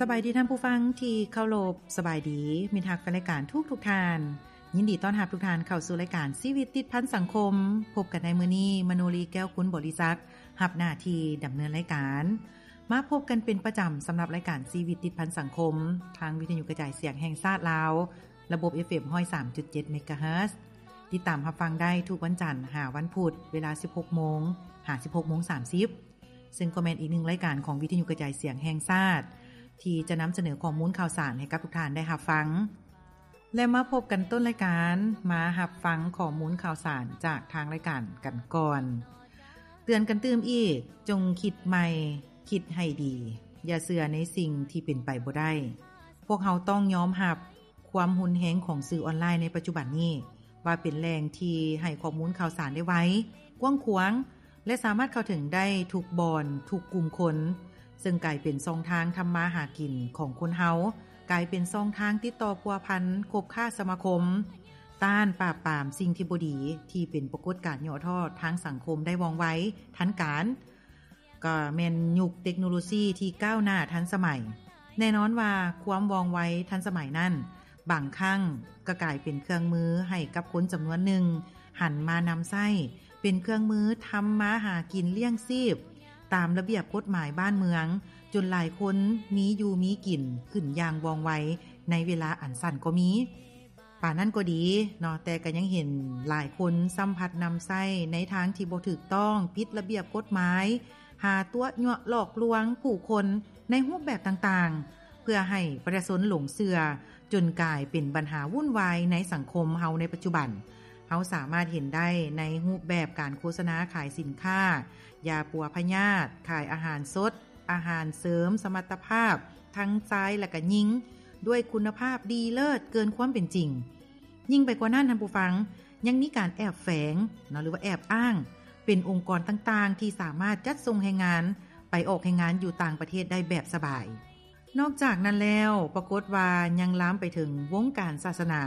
ສະບາຍດີທ່ານຜູ້ຟັງທີ່ເຄົາລົບ, ສະບາຍດີມິດຮັກແຟນລາຍການທຸກໆທ່ານ. ຍິນດີຕ້ອນຮັບທຸກທ່ານເຂົ້າສູ່ລາຍການຊີວິດຕິດພັນສັງຄົມ. ພົບກັນໃນມື້ນີ້ ມະໂນລີ ແກ້ວຄຸນ ບໍລິສັກ ຮັບໜ້າທີ່ດຳເນີນລາຍການ. ມາພົບກັນເປັນປະຈຳສຳລັບລາຍການຊີວິດຕິດພັນສັງຄົມ ທາງວິທະຍຸກະຈາຍສຽງແຫ່ງຊາດລາວ ລະບົບ ເອັຟເອັມ ຮ້ອຍສາມຈຸດເຈັດ ເມກາເຮີດ. ຕິດຕາມຮັບຟັງໄດ້ທຸກວັນຈັນຫາວັນພຸດ ເວລາສິບຫົກໂມງຫາສິບຫົກໂມງສາມສິບ ເຊິ່ງກໍແມ່ນອີກໜຶ່ງລາຍການຂອງວິທະຍຸກະຈາຍສຽງແຫ່ງຊາດ ທີ່ຈະນຳສະເໜີຂໍ້ມູນຂ່າວສານໃຫ້ກັບທຸກທ່ານໄດ້ຮັບຟັງ. ແລະ ມາພົບກັນຕົ້ນລາຍການ ມາຮັບຟັງຂໍ້ມູນຂ່າວສານຈາກທາງລາຍການກັນກ່ອນ. ເຕືອນກັນຕື່ມອີກ, ຈົ່ງຄິດໃໝ່, ຄິດໃຫ້ດີ, ຢ່າເຊື່ອໃນສິ່ງທີ່ເປັນໄປບໍ່ໄດ້. ພວກເຮົາຕ້ອງຍອມຮັບຄວາມຮຸນແຮງຂອງສື່ອອນລາຍໃນປັດຈຸບັນນີ້ ວ່າເປັນແຫຼ່ງທີ່ໃຫ້ຂໍ້ມູນຂ່າວສານໄດ້ໄວ, ກວ້າງຂວາງ ແລະ ສາມາດເຂົ້າເຖິງໄດ້ທຸກບ່ອນ, ທຸກກຸ່ມຄົນ, ເຊິ່ງກາຍເປັນຊ່ອງທາງທຳມາຫາກິນຂອງຄົນເຮົາ, ກາຍເປັນຊ່ອງທາງຕິດຕໍ່ພົວພັນ, ຄົບຄ້າສະມາຄົມ, ຕ້ານປາບປາມສິ່ງທີ່ບໍ່ດີ ທີ່ເປັນປາກົດການຫຍໍ້ທໍ້ທາງສັງຄົມໄດ້ວ່ອງໄວ, ທັນການ. ກໍແມ່ນຍຸກເຕັກໂນໂລຊີທີ່ກ້າວໜ້າທັນສະໄໝ. ແນ່ນອນວ່າຄວາມວ່ອງໄວທັນສະໄໝນັ້ນ ບາງຄັ້ງກໍກາຍເປັນເຄື່ອງມືໃຫ້ກັບຄົນຈຳນວນໜຶ່ງຫັນມານຳໃຊ້ເປັນເຄື່ອງມືທຳມາຫາກິນລ້ຽງຊີບຕາມລະບຽບກົດໝາຍບ້ານເມືອງ, ຈົນຫຼາຍຄົນມີຢູ່ມີກິນຂຶ້ນຢ່າງວ່ອງໄວໃນເວລາອັນສັ້ນກໍມີ. ປານນັ້ນກໍດີເນາະ, ແຕ່ກໍຍັງເຫັນຫຼາຍຄົນຊ້ຳພັດນຳໃຊ້ໃນທາງທີ່ບໍ່ຖືກຕ້ອງ, ຜິດລະບຽບກົດໝາຍ, ຫາຕົວະຍົວະຫຼອກລວງຜູ້ຄົນໃນຮູບແບບຕ່າງໆ ເພື່ອໃຫ້ປະຊາຊົນຫຼົງເຊື່ອ, ຈົນກາຍເປັນບັນຫາວຸ່ນວາຍໃນສັງຄົມເຮົາໃນປັດຈຸບັນ. ເຮົາສາມາດເຫັນໄດ້ໃນຮູບແບບການໂຄສະນາຂາຍສິນຄ້າ, ຢາປົວພະຍາດ, ຂາຍອາຫານສົດ, ອາຫານເສີມສະມັດຕະພາບທັງຊາຍ ແລະ ກໍຍິງ ດ້ວຍຄຸນນະພາບດີເລີດເກີນຄວາມເປັນຈິງ. ຍິ່ງໄປກວ່ານັ້ນ, ທ່ານຜູ້ຟັງ, ຍັງມີການແອບແຝງເນາະ ຫຼືວ່າແອບອ້າງເປັນອົງກອນຕ່າງໆ ທີ່ສາມາດຈັດສົ່ງແຮງງານໄປອອກແຮງງານຢູ່ຕ່າງປະເທດໄດ້ແບບສະບາຍ. ນອກຈາກນັ້ນແລ້ວ, ປາກົດວ່າຍັງລາມໄປເຖິງວົງການສາສະໜາ,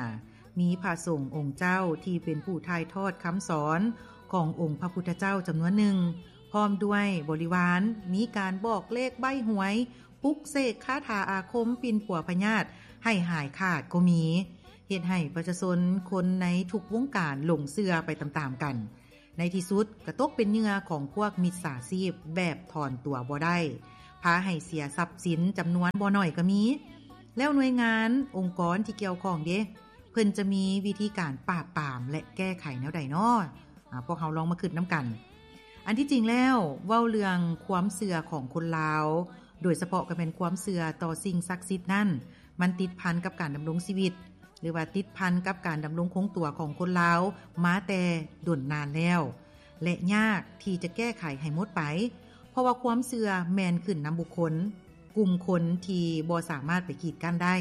ມີພະສົງອົງເຈົ້າທີ່ເປັນຜູ້ຖ່າຍທອດຄຳສອນຂອງອົງພະພຸດທະເຈົ້າຈຳນວນໜຶ່ງ, ພ້ອມດ້ວຍບໍລິວານ, ມີການບອກເລກໃບ້ຫວຍ, ປຸກເສກຄາຖາອາຄົມປິ່ນປົວພະຍາດໃຫ້ຫາຍຂາດກໍມີ, ເຮັດໃຫ້ປະຊາຊົນຄົນໃນທຸກວົງການຫຼົງເຊື່ອໄປຕາມໆກັນ. ໃນທີ່ສຸດກໍຕົກເປັນເຫຍື່ອຂອງພວກມິດສາຊີບແບບຖອນຕົວບໍ່ໄດ້, ພາໃຫ້ເສຍຊັບສິນຈຳນວນບໍ່ໜ້ອຍກໍມີ. ແລ້ວໜ່ວຍງານ, ອົງກອນທີ່ກ່ຽວຂ້ອງເດ? ເພິ່ນຈະມີວິທີການປາບປາມ ແລະ ແກ້ໄຂແນວໃດນໍ? ອາ, ພວກເຮົາລອງມາຄິດນຳກັນ. ອັນທີ່ຈິງແລ້ວ, ເວົ້າເລື່ອງຄວາມເຊື່ອຂອງຄົນລາວ, ໂດຍສະເພາະກໍແມ່ນຄວາມເຊື່ອຕໍ່ສິ່ງສັກສິດນັ້ນ, ມັນຕິດພັນກັບການດຳລົງຊີວິດ ຫຼືວ່າຕິດພັນກັບການດຳລົງຄົງຕົວຂອງຄົນລາວມາແຕ່ດົນນານແລ້ວ ແລະ ຍາກທີ່ຈະແກ້ໄຂໃຫ້ໝົດໄປ, ເພາະວ່າຄວາມເຊື່ອແມ່ນຂຶ້ນນຳບຸກຄົນ, ກຸ່ມຄົນທີ່ບໍ່ສາມາດໄປກີດກັ້ນໄດ້.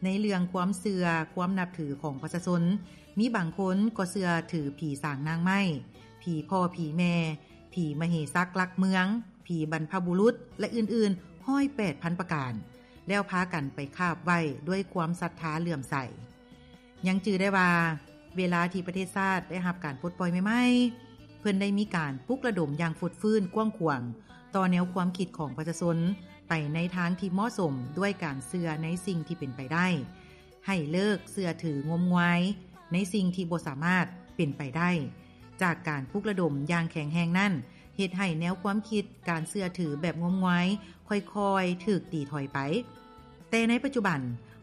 ໃນເລື່ອງຄວາມເຊື່ອ, ຄວາມນັບຖືຂອງປະຊາຊົນ, ມີບາງຄົນກໍເຊື່ອຖືຜີສາງນາງໄມ້, ຜີພໍ່ຜີແມ່, ຜີມະເຫສັກຫຼັກເມືອງ, ຜີບັນພະບຸລຸດ ແລະ ອື່ນໆ ຮ້ອຍແປດພັນປະການ, ແລ້ວພາກັນໄປຄາບໄຫວ້ດ້ວຍຄວາມສັດທາເຫຼື້ອມໃສ. ຍັງຈື່ໄດ້ວ່າ ເວລາທີ່ປະເທດຊາດໄດ້ຮັບການປົດປ່ອຍໃໝ່ໆ, ເພິ່ນໄດ້ມີການປຸກລະດົມຢ່າງຟົດຟື້ນກວ້າງຂວາງຕໍ່ແນວຄວາມຄິດຂອງປະຊາຊົນໄປໃນທາງທີ່ເໝາະສົມ ດ້ວຍການເຊື່ອໃນສິ່ງທີ່ເປັນໄປໄດ້, ໃຫ້ເລີກເຊື່ອຖືງົມງາຍໃນສິ່ງທີ່ບໍ່ສາມາດເປັນໄປໄດ້. ຈາກການປຸກລະດົມຢ່າງແຂງແຮງນັ້ນ, ເຮັດໃຫ້ແນວຄວາມຄິດການເຊື່ອຖືແບບງົມງວາຍຄ່ອຍໆຖືກຕີຖອຍໄປ. ແຕ່ໃນປັດຈຸບັນ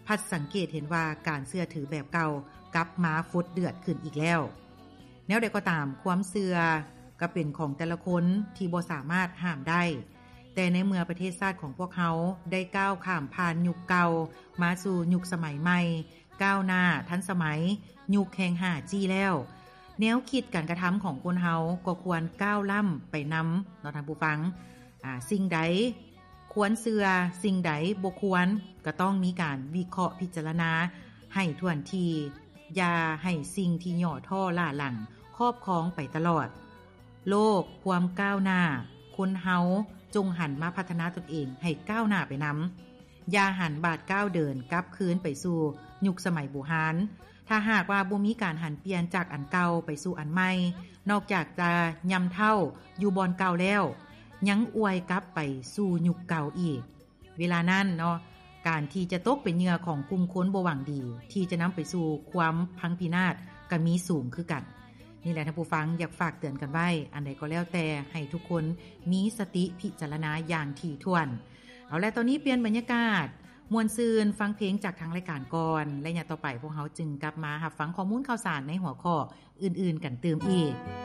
ພັດສັງເກດເຫັນວ່າການເຊື່ອຖືແບບເກົ່າກັບມາຟົດເດືອດຂຶ້ນອີກແລ້ວ. ແນວໃດກໍຕາມ, ຄວາມເຊື່ອກໍເປັນຂອງແຕ່ລະຄົນທີ່ບໍ່ສາມາດຫ້າມໄດ້, ແຕ່ໃນເມື່ອປະເທດຊາດຂອງພວກເຮົາໄດ້ກ້າວຂ້າມຜ່ານຍຸກເກົ່າມາສູ່ຍຸກສະໄໝໃໝ່, ກ້າວໜ້າທັນສະໄໝ, ຍຸກແຫ່ງຫ້າຈີ ແລ້ວ, ແນວຄິດການກະທຳຂອງຄົນເຮົາກໍຄວນກ້າວລ້ຳໄປນຳເນາະທ່ານຜູ້ຟັງ. ອາ, ສິ່ງໃດຄວນເຊື່ອ, ສິ່ງໃດບໍ່ຄວນ, ກໍຕ້ອງມີການວິເຄາະພິຈາລະນາໃຫ້ຖ້ວນທີ່, ຢ່າໃຫ້ສິ່ງທີ່ຫຍໍ້ທໍ້ລ້າຫຼັງຄອບຄອງໄປຕະຫຼອດ. ໂລກຄວາມກ້າວໜ້າ, ຄົນເຮົາຈົ່ງຫັນມາພັດທະນາຕົນເອງໃຫ້ກ້າວໜ້າໄປນຳ. ຢ່າຫັນບາດກ້າວເດີນກັບຄືນໄປສູ່ຍຸກສະໄໝບູຮານ. ຖ້າຫາກວ່າບໍ່ມີການຫັນປ່ຽນຈາກອັນເກົ່າໄປສູ່ອັນໃໝ່, ນອກຈາກຈະຍ່ຳເທົ້າຢູ່ບ່ອນເກົ່າແລ້ວ, ຍັງອວຍກັບໄປສູ່ຍຸກເກົ່າອີກ. ເວລານັ້ນເນາະ ການທີ່ຈະຕົກເປັນເຫຍື່ອຂອງກຸ່ມຄົນບໍ່ຫວັງດີ ທີ່ຈະນຳໄປສູ່ຄວາມພັງພິນາດ ກໍມີສູງຄືກັນ. ນີ້ແຫຼະທ່ານຜູ້ຟັງ ຢາກຝາກເຕືອນກັນໄວ້ ອັນໃດກໍແລ້ວແຕ່ ໃຫ້ທຸກຄົນມີສະຕິພິຈາລະນາຢ່າງຖີ່ຖ້ວນ. ເອົາລະ ຕອນນີ້ປ່ຽນບັນຍາກາດ ມ່ວນຊື່ນ ຟັງເພງຈາກທາງລາຍການກ່ອນ ແລະ ຍາມຕໍ່ໄປພວກເຮົາຈຶ່ງກັບມາຮັບຟັງຂໍ້ມູນຂ່າວສານໃນຫົວຂໍ້ອື່ນໆກັນຕື່ມອີກ.